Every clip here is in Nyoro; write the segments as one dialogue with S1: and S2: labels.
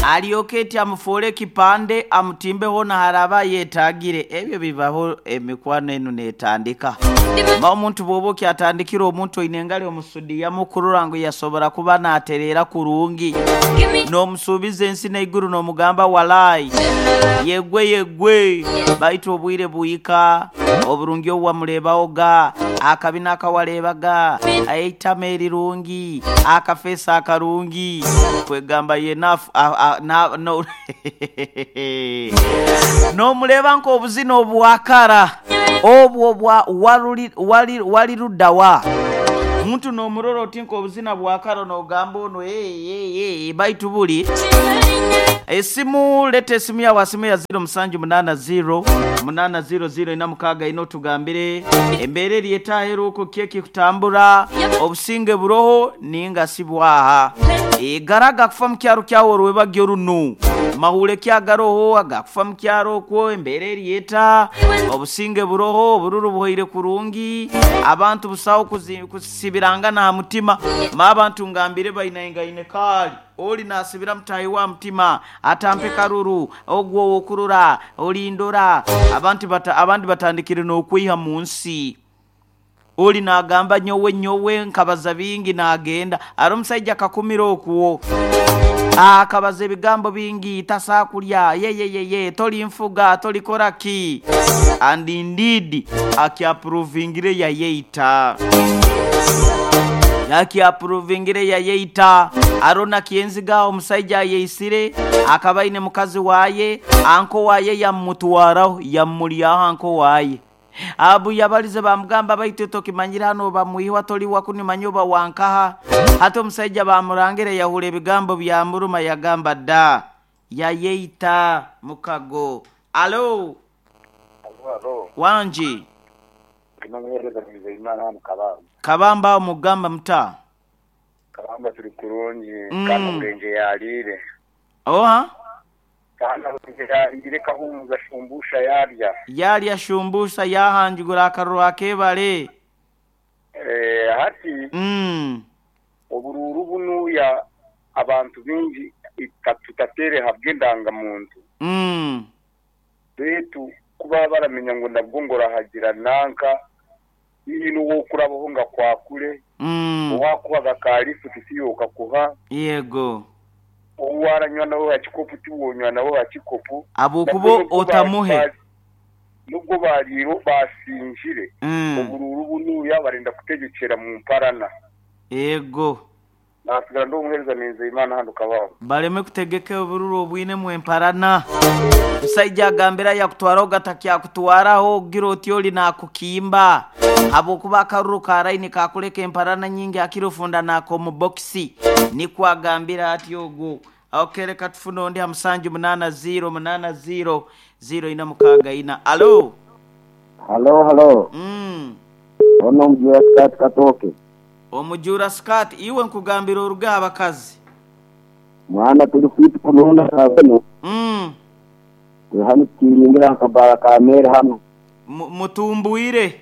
S1: Alyoke eti amufuule ekipande amutimbe hoona haraaba ayetaagire. Ebyo bibaho emikwano enu n'etandika. Ma omuntu bw'oba okyatandikire omuntu oine engali omusudiyamu kurora ngu yasobora kuba naatereera kurungi. N'omusuubiza ensi n'eiguru n'omugamba walai yegwe yegwe baitu obwire buhika oburungi obu wamureebahoga, akabina akawareebaga, eitama erirungi, akafeesi akarungi kwegamba yeena n'omureeba nk'obuzina obwakara obwo obwa wali ludda wa? Omuntu n'omurora oti nk'obuzina bwakara n'ogamba ono eeh baitu buli. Esimu leta esimu yaawe aha simu ya ziro musanju munaana ziro munaana ziro ziro ina mukaaga ina otugambire embeera eri eta aheeru okwo ki ekikutambura, obusinge buroho ninga shi bwaha. Eigara agakufa mu kyaro kyawe orwebagyo runu. Mahuure ki agaroho agakufa mu kyaro okwo, embeera eri eta, obusinge buroho, obururu buhoire kurungi, abantu busaho kusibirangana aha mutima. Ma abantu ngambire bainaingaine kaali ori naasibira mutaahi we aha mutima atampe karuru, ogwo ow'okurora, orindora. Abantu abandi batandikire n'okweiha mu nsi. Ori naagamba nyowe nyowe nkabaza bingi naagenda. Hariho omusaija akakumira okwo. Akabaza ebigambo bingi, tasaa kurya, yeyeyeye, torinfuga, torikora ki. And indeed akyapuruvingire yayeita. Akyapuruvingire yayeita. Hariho na Kyenziga omusaija ayeitsire, akaba aine mukazi waaye, anko waaye yamumutwaraho, yamumuryaho anko waaye. Ahabu yabalize baamugamba, Baitu tokimanyire hanu oba mwihwa toli wa kunu manya oba wa nkaha? Hati omusaija baamurangira yahurra ebigambo byamuruma yagamba da, yayeita mukago. Alo!
S2: Alo, alo.
S1: Wangi.
S2: Ndi n'omuheereza Nizeyimana hanu Kabamba.
S1: Kabamba aho mugamba muta?
S2: Kabamba turi kurungi kandi Omurenje yaariire.
S1: Oha?
S2: Kandi Omurenje yaariire Kahumuza shumbusha yaarya.
S1: Yaarya shumbusha yaahanjugura akaruru akebare.
S2: Hati oburuuru bunuya abantu baingi tutateere ahabw'endangamuntu. Beitu ku baba baramenya ngu nabwo ngu orahagira nanka, haihi n'ow'okurabaho ngu akwakure, owaakuhaga ka lifuti tiiwe okakuha.
S1: Yego.
S2: Ou waaranywa nawe aha kikopo tiiwe onywa nawe aha kikopo.
S1: Ahabw'okuba otamuhe.
S2: Nubwo baariire baasingire, oburuuru bunuya barenda kutegyekyera mu mparana.
S1: Yego.
S2: Naatsigara ndi omuheereza Nenzeyimana hanu Kabamba.
S1: Bareme kutegeka obururu obwinemu emparana. Omusaija agambire ayakutwaraho gatakyakutwaraho ogira oti ori nakukimba habwokuba akaruru ka line kakuleka emparana nyingi hakiri ofunda nakomu bokisi. Nikwo agambire atyo ogu. Ok leka tufune ondi ha musanju munaana ziiro munaana ziiro ziiro ina mukaaga ina. Alo!
S3: Halo halo. Ono Omujura Sikaati Katooke.
S1: Omujura Sikaati, iwe nkugambira oruge aha bakazi.
S3: Mwana turi fit kulonda hanu. Turi hanu tukiringira aha kabaara ka meeri hanu.
S1: Mutumbwire.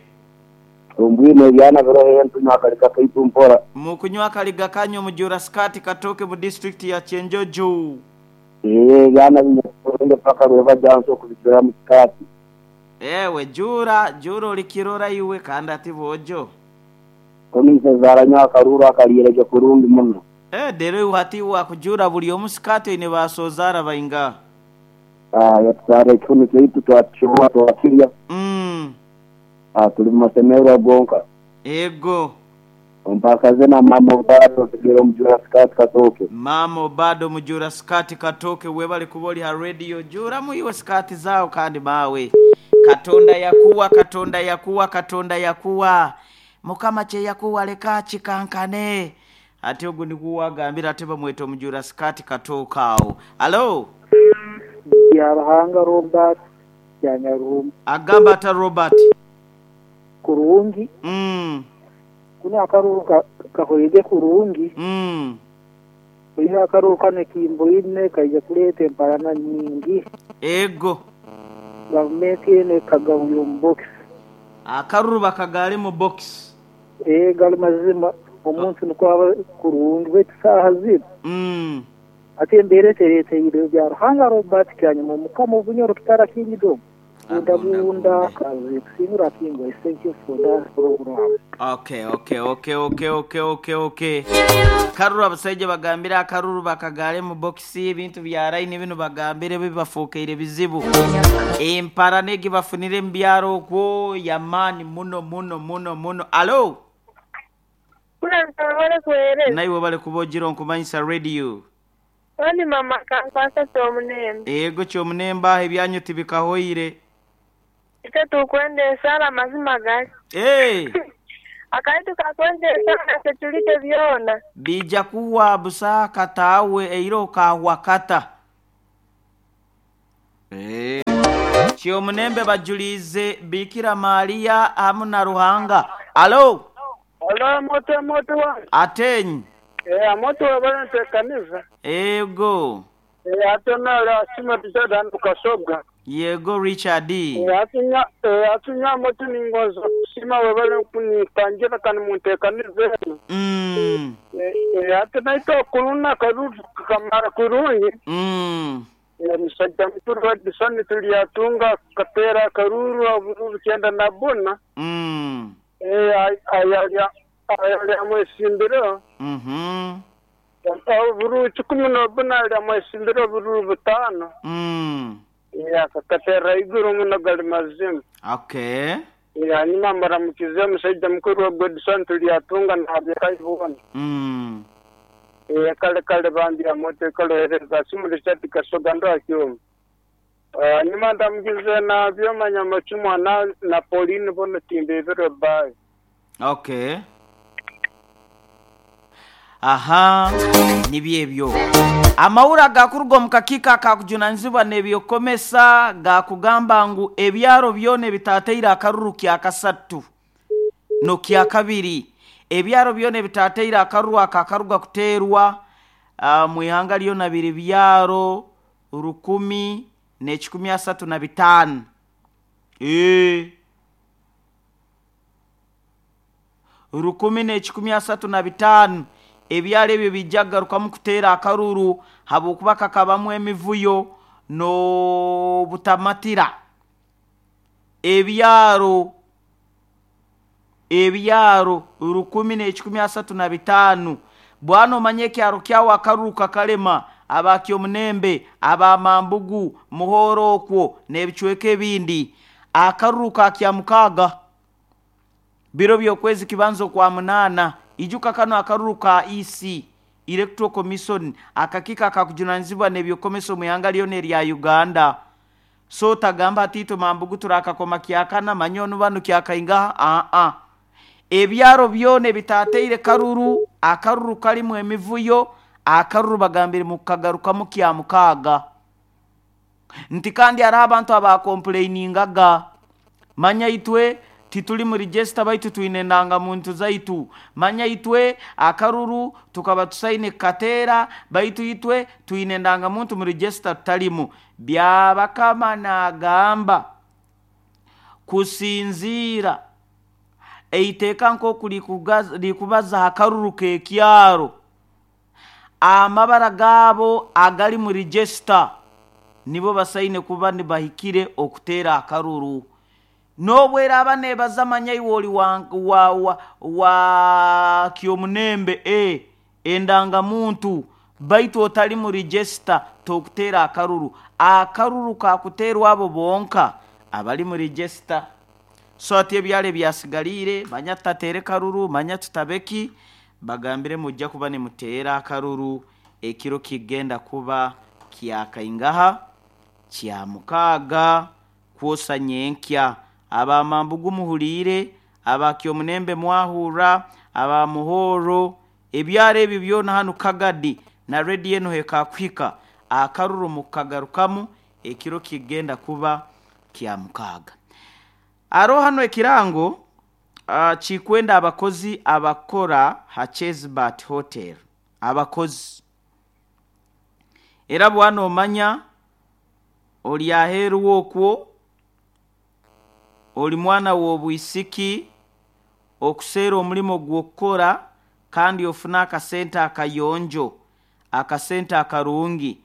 S3: Tumbwire n'ebyana biroho henu tunywa akaliga kaitu mpora.
S1: Mukunywa akaliga kanyu Omujura Sikaati Katooke mu disiturikiti ya Kyenjojo.
S3: Eeh ebyana binywa kurungi paka rwebagyo nso kubijuramu sikaati.
S1: Ewe Jura, Jura oli kirora iwe kandi ati boojo.
S3: Kunu ishezaara nyowe akaruuru akariire gye kurungi muno.
S1: Eh deero iwe hati iwe wakujuura buri omu sikaati oine ba soozaara baingaha?
S3: Ah yatusaara ekihunu kyaitu twakishoha twakirya. Ah turi mu mashemererwa gonka.
S1: Ego.
S3: Ompakaze na maama Obado osigire omujura sikaati katooke.
S1: Maama Obado omujura sikaati katooke webale kuba ori ha radio juuramu iwe sikaati zaawe kandi maawe. Katonda yakuwa Katonda yakuwa Katonda yakuwa Mukama kye yakuwa leka kikankane. Ati ogwo nigwo wagambire ate bamweta omujura sikaati katooke awo. Alo!
S4: Byaruhanga Robert Byanyaruhumba.
S1: Agamba ata Robert?
S4: Kurungi. Kunu akaruuru kahoire kurungi. Oihireho akaruuru kanu ekimboine kaija kuleeta emparana nyingi.
S1: Ego.
S4: Gavumenti enu ekagabwire omu bokisi.
S1: Akaruru bakagaale mu bokisi.
S4: Ee, gali mazima. Omuntu nukwo aba kurungi baitu saaha zinu Ate embeera etereeteire bya Ruhanga Robert Kyanyuma Omukama Obunyoro Kitara Kingdom. Bunda bunda kazi kusiimira Kingwa. Thank you for that program.
S1: Okay, okay, okay, okay, okay, okay, okay. Karuru abasajja bagambire akaruru bakagale mu bokisi ebintu bya line bino bagambire bibafuukeire bizibu. Empara negi bafunire mu byaro okwo yamaani muno muno muno muno. Alo? Naiwe bale kuba ogira onkumanyisa radio.
S5: Oni mama kankwasa kyomunembe.
S1: Ego kyomunembe aho ebyanyu tibikahoire.
S5: Ite tukwenda esala amazima gali.
S1: Hey.
S5: Akaitu kakwenda esala setulite byona.
S1: Bija kuwa busa katawe eiro kawakata. Eh. Kyomunembe bajulize Bikira Maria hamu na Ruhanga. Alo?
S6: Alo moto moto wa.
S1: Atenyi.
S6: Moto wa balance kanisa.
S1: Ego.
S6: Atona la sima tisada ndukasobwa.
S1: Yego Richard.
S6: Atunya atunya moto ningozo sima webale kunitangira kan muntekanize. Atona ito kuluna karuzu kamara kurungi. Musajja mukuru wa Disoni tuliyatunga katera karuru abururu kenda nabona. Ayalya ayalya mwesimbiro. Oburu 14 alya mwesimbiro oburu 5. Ya kakatera iguru muno gali mazima.
S1: Okay.
S6: Ya nyuma maramukize musajja mukuru wa Godson tuliyatunga na byakaibona. Kale kale bandi ya moto kale simu Richard Kasoga ndo akioma. Nyuma ndamukize na byomanya machumwa na Pauline bono timbe biro bye.
S1: Okay. Aha, nibyebyo. Amawura gakurugo mukakika akakujunanizibwa nebyokomesa gakugamba ngu ebyaro byone bitateira akaruru kya kasatu no kya kabiri. Ebyaro byone bitateira akaruru akakaruga kuterwa mu ihanga lyona biri byaro 1,135. 1,135. Ebyalo ebyo bijjagarukamu kuteera akaruru habwokuba kakabamu emivuyo n'obutamatira. Ebyaro 1,135. Bwana omanye ekyaro kyawo akaruru kakalema abakyomunembe abamambugu muhoro okwo n'ebicweka ebindi. Akaruru kakya mukaaga biro by'okwezi kibanzo kwa 8. Ijuka kano akaruru ka EC Electoral Commission akakika akakujunanizibwa nebyokomeso mu ihanga lyona erya Uganda. So tagamba atito mambugu turakakoma kyakana manyono bano kyakainga a ebyaro byone bitateire karuru akaruru kalimu emivuyo akaruru bagambire mukagarukamu kya mukaaga. Nti kandi ari abantu abakomplainingaga manya itwe tituli mu register baitu tuine nanga muntu zaitu manya itwe akaruru tukaba tusaine katera baitu itwe tuine nanga muntu mu register tutalimu. Byabakama nagamba kusinzira eiteka nko kulikubaza akaruru kekyaro amabara gabo agali mu register nibo basaine kuba nibahikire okutera akaruru. Nobwera abane bazamanya iwoli wa kyomunembe endanga muntu baitu otali mu register tokutera akaruru. Akaruru kakuterwa abo bonka abali mu register. So ati ebyale byasigalire manya tatere karuru manya tutabeki bagambire mujja kuba ne mutera akaruru ekiro kigenda kuba kyakaingaha kya mukaaga kwosa nyenkya. Abamambugu muhulire, abakyomunembe mwahura, abamuhoro, ebyaro ebyo byona hano Kagadi na radio eno hekakwika akaruru mukagarukamu ekiro kigenda kuba kya mukaaga. Aro hano ekirango chikwenda abakozi abakora ha Chesbat Hotel. Abakozi era bwana omanya oli aheru okwo oli mwana w'obwisiki okuseera omulimo gw'okukora kandi ofuna akasente akayonjo. Akasente akarungi.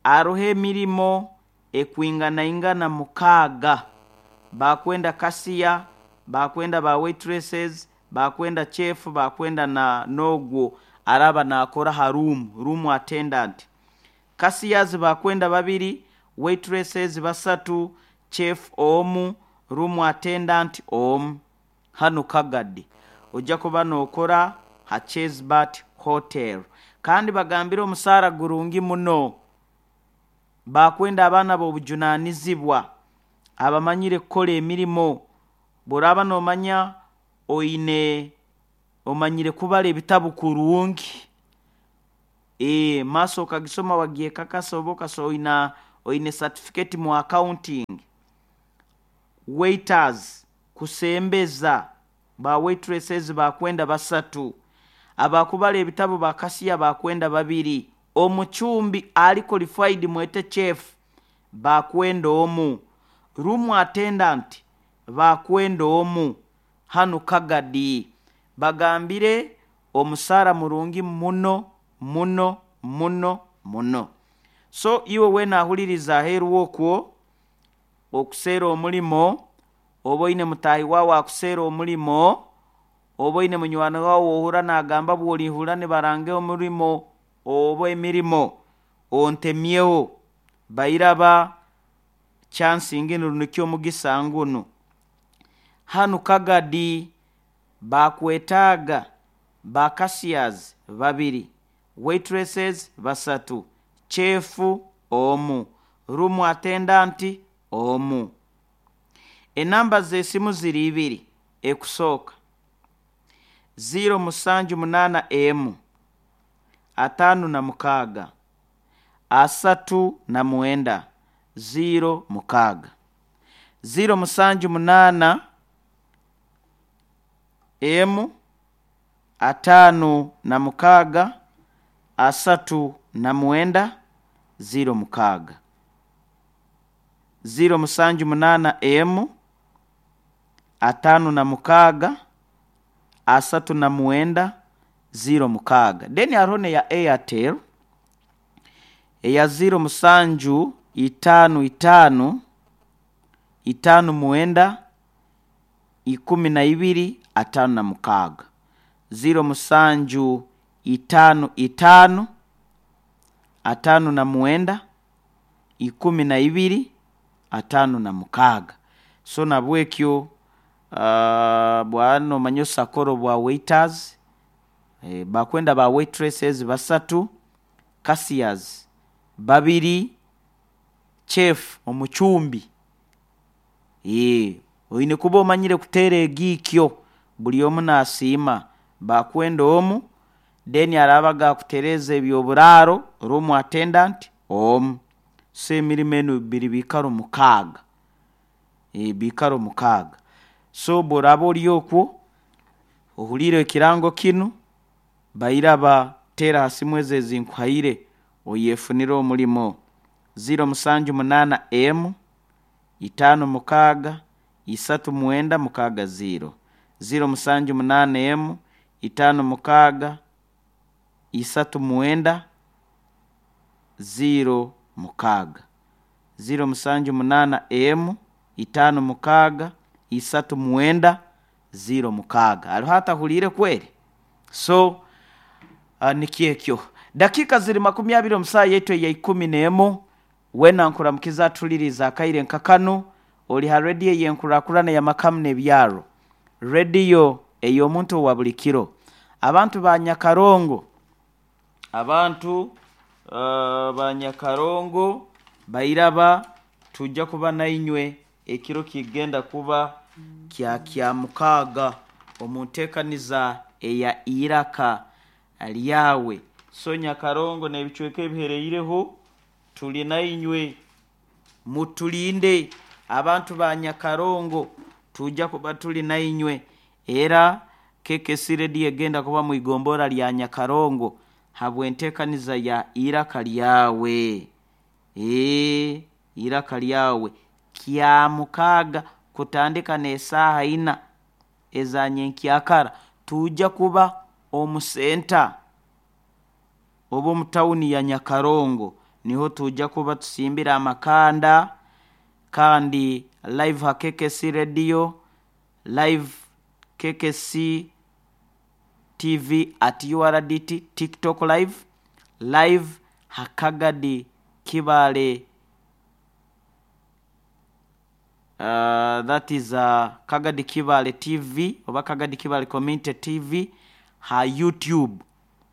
S1: Aroho emirimo ekwinganaingana mukaaga. Bakwenda cashier, bakwenda ba waitresses, bakwenda chef, bakwenda na n'ogwo araba naakora ha room, room attendant. Cashiers bakwenda babiri, waitresses basatu, chef omu, room attendant omu. Hanu Kagadi ojja kuba nookora ha Chesbert Hotel. Kandi bagambire omusaara gurungi muno. Bakwenda abaana b'obujunaanizibwa abamanyire kukora emirimo. Bw'oraaba noomanya oine omanyire kubara ebitabu kurungi, maaso okagisoma wagyekakasa oba oina oine certificate mu accounting. Waiters kusembeza, ba waitresses bakwenda basatu, abakubara ebitabu ba cashier bakwenda babiri, omucumbi ali qualified mwete chef bakwenda omu, room attendant bakwenda omu. Hanu Kagadi bagambire omusaara murungi muno muno muno muno. So iwe weena ahuliriza aheeru okwo okuseera omulimo, oba oine mutaahi waawe akuseera omulimo, oba oine munywani waawe ohurra naagamba bw'orihurra nibaranga omulimo oba emirimo ontemyeho, bairaba chance nginu nikyo omugisa ngunu. Hanu Kagadi bakwetaaga ba cashiers babiri, waitresses basatu, chef omu, room attendant omu. Enamba z'esimu ziri ibiri. Ekusooka 0781 56 39 06. 078 emu 56 39 06. 078 emu 56 39 06. Then hariho n'eya Airtel eya 07 55 59 12 56. 07 55 59 12 56. So nabwekyo bwana omanye osakoro bwa waiters, bakwenda ba waitresses basatu, cashiers babiri, chef omucumbi. Oine kuba omanyire kuteera egiikyo buli omu naasiima. Bakwenda omu, then araaba gaakutereeza eby'oburaaro, room attendant omu. So emirimo enu biri biikaro mukaaga. Biikaro mukaaga. So bw'oraaba ori okwo ohuliire ekirango kinu, bairaba teera ha simu ezo ezinkuhaire oyefunire omulimo. 078 emu 56 39 60. 078 emu 56 39 06. 078 emu 56 39 06. Hariho atahuliire kweri? So nikyo ekyo. Dakiika ziri 20 omu saaha yaitu eya 11. Weena nkuramukiza atuliriize akaire nka kanu, ori ha rediyo ey'enkurakurana ey'amakamu n'ebyaro, rediyo ey'omuntu owa buli kiro. Abantu ba Nyakarongo, abantu ba Nyakarongo bairaba tujja kuba nainywe ekiro kigenda kuba kya Kyamukaaga omu nteekaniza eya Iraka Lyawe. So Nyakarongo n'ebicweka ebihereireho tuli nainywe, mutulinde abantu ba Nyakarongo, tujja kuba tuli nainywe. Era KKC Radio egenda kuba mu igombora lya Nyakarongo habw'enteekaniza ya Iraka Lyawe. Iraka Lyawe Kyamukaaga kutandika n'esaaha ina eza nyenkyakara tujja kuba omu senta. Oba omu tawuni ya Nyakarongo niho tujja kuba tusimbire amakanda, kandi live ha KKC Radio, live KKC TV at URDT, TikTok live, live ha Kagadi Kibale, that is Kagadi Kibale TV oba Kagadi Kibale Community TV ha YouTube.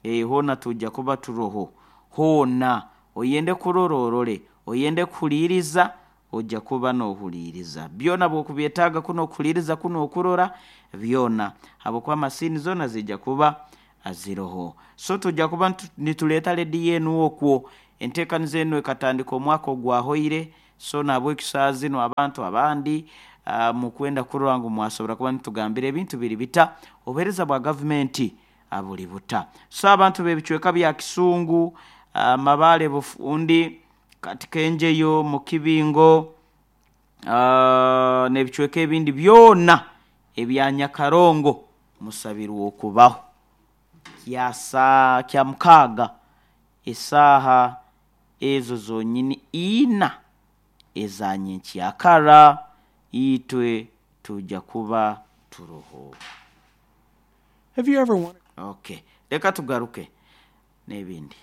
S1: Hoona tujja kuba turoho. Hoona oyende kurora orole, oyende kuhuliiriza ojja kuba noohuliiriza. Byona bw'okubyetaaga kunu okuhuliiriza kunu okurora byona habwokuba masiini zoona ziija kuba ziroho. So tujja kuba nituleeta rediyo enu okwo. Enteekaniza enu ekatandika omwaka ogwahoire, so nahabweki saaha zinu abantu abandi mukwenda kurora ngu mwasobora kuba nitugambira ebintu biri bita, obuheereza bwa gavumenti buli buta. So abantu b'ebicweka bya Kisungu, Mabaale Bufundi, Katikenjeyo, Mukibingo n'ebicweka ebindi byona ebya Nyakarongo musabirwe okubaho. Kya Kyamukaaga esaaha ezo zonyini ina eza nyenkyakara itwe tujja kuba turoho.
S7: Have you ever wondered?
S1: Okay, leka tugaruke n'ebindi.